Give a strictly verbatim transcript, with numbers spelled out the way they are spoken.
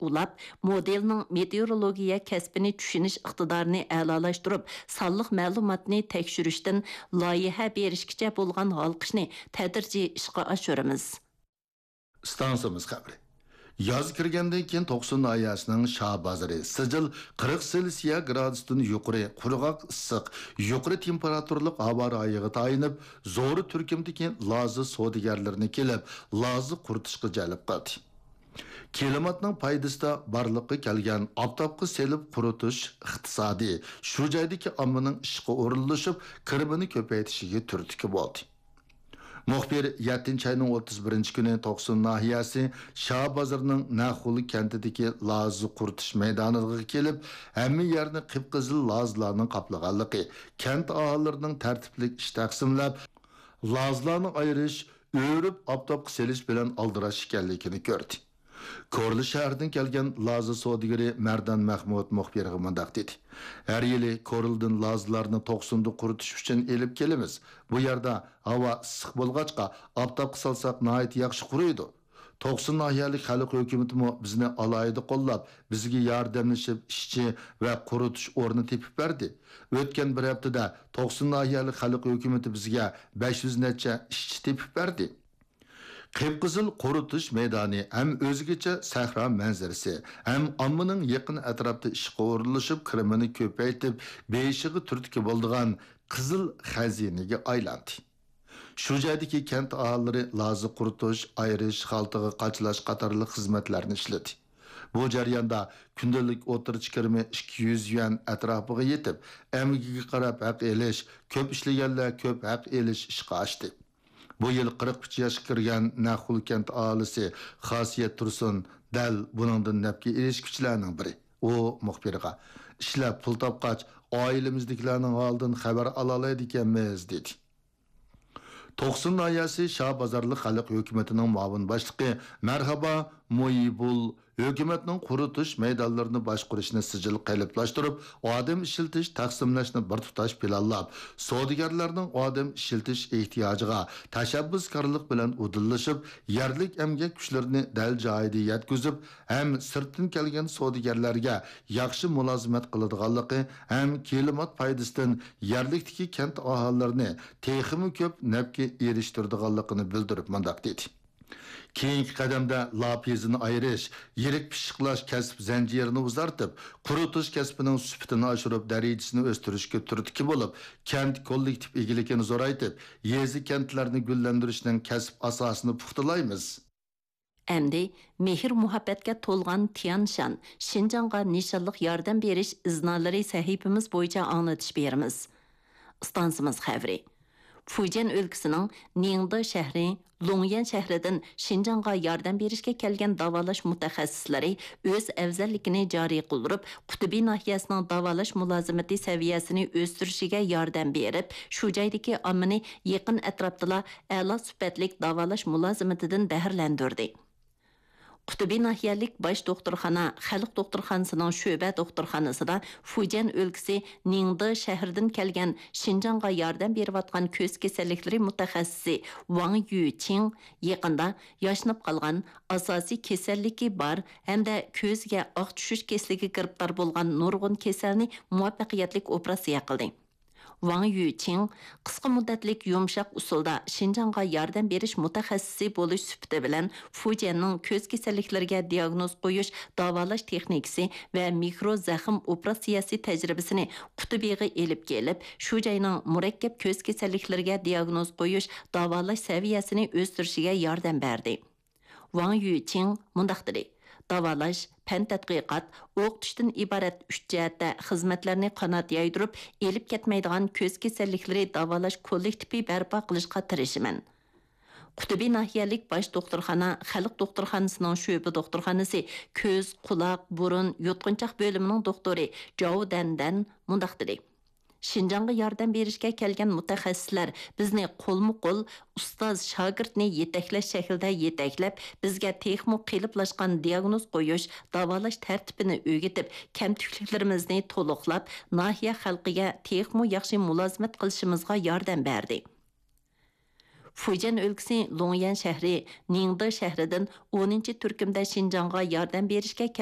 ئۇلاپ، مودېلنىڭ مېتېئورولوگىيە كەسپىنى چۈشىنىش ئىقتىدارىنى ئەلالاشتۇرۇپ، سانلىق مەلۇماتنى تەكشۈرۈشتىن لايىھە بېرىشكىچە بولغان ھالقىشنى تەدرىجىي ئىشقا ئاشۇرىمىز. ئىستانسىمىز خەۋىرى. ياز كىرگەندىن كېيىن توقسۇن ناھىيەسىنىڭ شاھ بازىرى سىجىل قىرىق سېلسىيە گرادۇستىن يۇقىرى قۇرغاق ئىسسىق، يۇقىرى تېمپېراتۇرىلىق ھاۋا رايىغا تايىنىپ، زور تۈركۈمدىكى لازا سودىگەرلىرىنى كېلىپ، لازا قۇرۇتۇشقا جەلپ قىلدى. كىلىماتنىڭ پايدىسىدا بارلىققا كەلگەن ئاپتاپقا سېلىپ قۇرۇتۇش ئىقتىسادى شۇ جايدىكى ئاممىنىڭ ئىشقا ئورۇنلىشىپ، كىرىمىنى كۆپەيتىشىگە تۈرتكە بولدى. مۇخبىر يەتتىنچى ئاينىڭ ئوتتۇز بىرىنچى كۈنى توقسۇن ناھىيەسى شاھ بازىرىنىڭ نەخۇلى كەنتىدىكى لازا قۇرۇتۇش مەيدانىغا كېلىپ، ھەممە يەرنى قىپقىزىل لازىلارنىڭ قاپلىغانلىقى، كەنت ئاھالىلىرىنىڭ تەرتىپلىك ئىش تەقسىملەپ، لازىلارنى ئايرىش، ئۆرۈپ ئاپتاپقا سېلىش بىلەن ئالدىراش ئىكەنلىكىنى كۆردى. كورلا شەھىرىدىن كەلگەن لازا سودىگىرى مەردان مەخمۇت مۇخبىرغا مۇنداق دېدى: «ھەر يىلى كورلىدىن لازىلارنى توقسۇندا قۇرۇتۇش ئۈچۈن ئېلىپ كېلىمىز. بۇ يەردە ھاۋا ئىسسىق بولغاچقا، ئاپتاپقا سالساق ناھايىتى ياخشى قۇرۇيدۇ. توقسۇن ناھىيەلىك خەلق ھۆكۈمىتىمۇ بىزنى ئالاھىدە قوللاپ، بىزگە ياردەملىشىپ ئىشچى ۋە قۇرۇتۇش ئورنى تېپىپ بەردى. ئۆتكەن بىر ھەپتىدە توقسۇن ناھىيەلىك خەلق ھۆكۈمىتى بىزگە بەش يۈز نەچچە ئىشچى تېپىپ بەردى.» قىپقىزىل قۇرۇتۇش مەيدانى ھەم ئۆزگىچە سەھرا مەنزىرىسى، ھەم ئاممىنىڭ يېقىن ئەتراپتا ئىشقا ئورۇنلىشىپ، كىرىمىنى كۆپەيتىپ، بېيىشىغا تۈرتكە بولىدىغان قىزىل خەزىنىگە ئايلاندى. شۇ جايدىكى كەنت ئاھالىلىرى لازا قۇرۇتۇش، ئايرىش، خالتىغا قاچىلاش قاتارلىق خىزمەتلەرنى ئىشلىدى. بۇ جەرياندا كۈندىلىك ئوتتۇرىچە كىرىمى ئىككى يۈز يۈەن ئەتراپىغا يېتىپ، ئەمگىكىگە قاراپ ھەق ئېلىش، كۆپ ئىشلىگەنلەر كۆپ ھەق ئېلىش ئىشقا ئاشتى. بۇ يىل قىرىق ئۈچ ياشقا كىرگەن نەخۇل كەنت ئاھالىسى خاسىيەت تۇرسۇن دەل بۇنىڭدىن نەپكە ئېرىشكۈچىلەرنىڭ بىرى. ئۇ مۇخبىرغا: «ئىشلەپ پۇل تاپقاچ، ئائىلىمىزدىكىلەرنىڭ ھالىدىن خەۋەر ئالالايدىكەنمىز» دېدى. توقسۇن ناھىيەسى شاھ بازارلىق خەلق ھۆكۈمىتىنىڭ مۇئاۋىن باشلىقى مەرھابا مۇيىبۇل ھۆكۈمەتنىڭ قۇرۇتۇش مەيدانلىرىنى باشقۇرۇشنى سىجىل قېلىپلاشتۇرۇپ، ئادەم ئىشلىتىش، تەقسىملەشنى بىر تۇتاش پىلانلاپ، سودىگەرلەرنىڭ ئادەم ئىشلىتىش ئېھتىياجىغا تەشەببۇسكارلىق بىلەن ئۇدۇللىشىپ، يەرلىك ئەمگەك كۈچلىرىنى دەل جايىدا يەتكۈزۈپ، ھەم سىرتتىن كەلگەن سودىگەرلەرگە ياخشى مۇلازىمەت قىلىدىغانلىقى ھەم كىلىمات پايدىسىدىن يەرلىكتىكى كەنت ئاھالىلىرىنى تېخىمۇ كۆپ نەپكە ئېرىشتۈرىدىغانلىقىنى بىلدۈرۈپ مۇنداق دېدى: «كېيىنكى قەدەمدە لاپ يېزىنى ئايرىش، يىرىك پىششىقلاش كەسىپ زەنجىرىنى ئۇزارتىپ، قۇرۇتۇش كەسپىنىڭ سۈپىتىنى ئاشۇرۇپ، دەرىجىسىنى ئۆستۈرۈشكە تۈرتكە بولۇپ، كەنت كوللېكتىپ ئىگىلىكىنى زورايتىپ، يېزا، كەنتلەرنى گۈللەندۈرۈشنىڭ كەسىپ ئاساسىنى پۇختىلايمىز.» ئەمدى مېھىر-مۇھەببەتكە تولغان تيانشان، شىنجاڭغا نىشانلىق ياردەم بېرىش ئىزنالىرى سەھىپىمىز بويىچە ئاڭلىتىش بېرىمىز. ئىستانسىمىز خەۋىرى. فۇجيەن ئۆلكىسىنىڭ نىڭدې شەھىرى، لۇڭيەن شەھىرىدىن شىنجاڭغا ياردەم بېرىشكە كەلگەن داۋالاش مۇتەخەسسىسلىرى ئۆز ئەۋزەللىكىنى جارى قىلدۇرۇپ، قۇتۇبى ناھىيەسىنىڭ داۋالاش مۇلازىمىتى سەۋىيەسىنى ئۆستۈرۈشىگە ياردەم بېرىپ، شۇ جايدىكى ئاممىنى يېقىن ئەتراپتىلا ئەلا سۈپەتلىك داۋالاش مۇلازىمىتىدىن بەھرىلەندۈردى. قۇتۇبى ناھىيەلىك باش دوختۇرخانا خەلق دوختۇرخانىسىنىڭ شۆبە دوختۇرخانىسىدا فۇجيەن ئۆلكىسى نىڭدې شەھىرىدىن كەلگەن شىنجاڭغا ياردەم بېرىۋاتقان كۆز كېسەللىكلىرى مۇتەخەسسىسى ۋاڭ يۈچىڭ يېقىندا ياشىنىپ قالغان، ئاساسىي كېسەللىكى بار ھەمدە كۆزىگە ئاق چۈشۈش كېسىلىگە گىرىپتار بولغان نۇرغۇن كېسەلنى مۇۋەپپەقىيەتلىك ئوپېراتسىيە قىلدى. ۋاڭ يۈچىڭ قىسقا مۇددەتلىك يۇمشاق ئۇسۇلدا شىنجاڭغا ياردەم بېرىش مۇتەخەسسىسى بولۇش سۈپىتى بىلەن، فۇجيەننىڭ كۆز كېسەللىكلىرىگە دىياگنوز قويۇش، داۋالاش تېخنىكىسى ۋە مىكرو زەخىم ئوپېراتسىيەسى تەجرىبىسىنى قۇتۇبىغا ئېلىپ كېلىپ، شۇ جاينىڭ مۇرەككەپ كۆز كېسەللىكلىرىگە دىياگنوز قويۇش، داۋالاش سەۋىيەسىنى ئۆستۈرۈشىگە ياردەم بەردى. ۋاڭ يۈچىڭ مۇنداق دېدى: «داۋالاش، پەن تەتقىقات، ئوقۇتۇشتىن ئىبارەت ئۈچ جەھەتتە خىزمەتلەرنى قانات يايدۇرۇپ ئېلىپ كەتمەيدىغان كۆز كېسەللىكلىرى داۋالاش كوللېكتىپى بەرپا قىلىشقا تىرىشىمەن.» قۇتۇبى ناھىيەلىك باش دوختۇرخانا خەلق دوختۇرخانىسىنىڭ شۆبە دوختۇرخانىسى كۆز، قۇلاق، بۇرۇن، يۇتقۇنچاق بۆلۈمىنىڭ دوختۇرى جاۋ دەندەن مۇنداق دېدى: «شىنجاڭغا ياردەم بېرىشكە كەلگەن مۇتەخەسسىسلەر بىزنى قولمۇ قول، ئۇستاز شاگىرتنى يېتەكلەش شەكلىدە يېتەكلەپ، بىزگە تېخىمۇ قېلىپلاشقان دىياگنوز قويۇش، داۋالاش تەرتىپىنى ئۆگىتىپ، كەمتۈكلۈكلىرىمىزنى تولۇقلاپ، ناھىيە خەلقىگە تېخىمۇ ياخشى مۇلازىمەت قىلىشىمىزغا ياردەم بەردى.» فۇجيەن ئۆلكىسى لۇڭيەن شەھىرى نىڭدې شەھىرىدىن ئونىنچى تۈركۈمدە شىنجاڭغا ياردەم بېرىشكە كەلگەن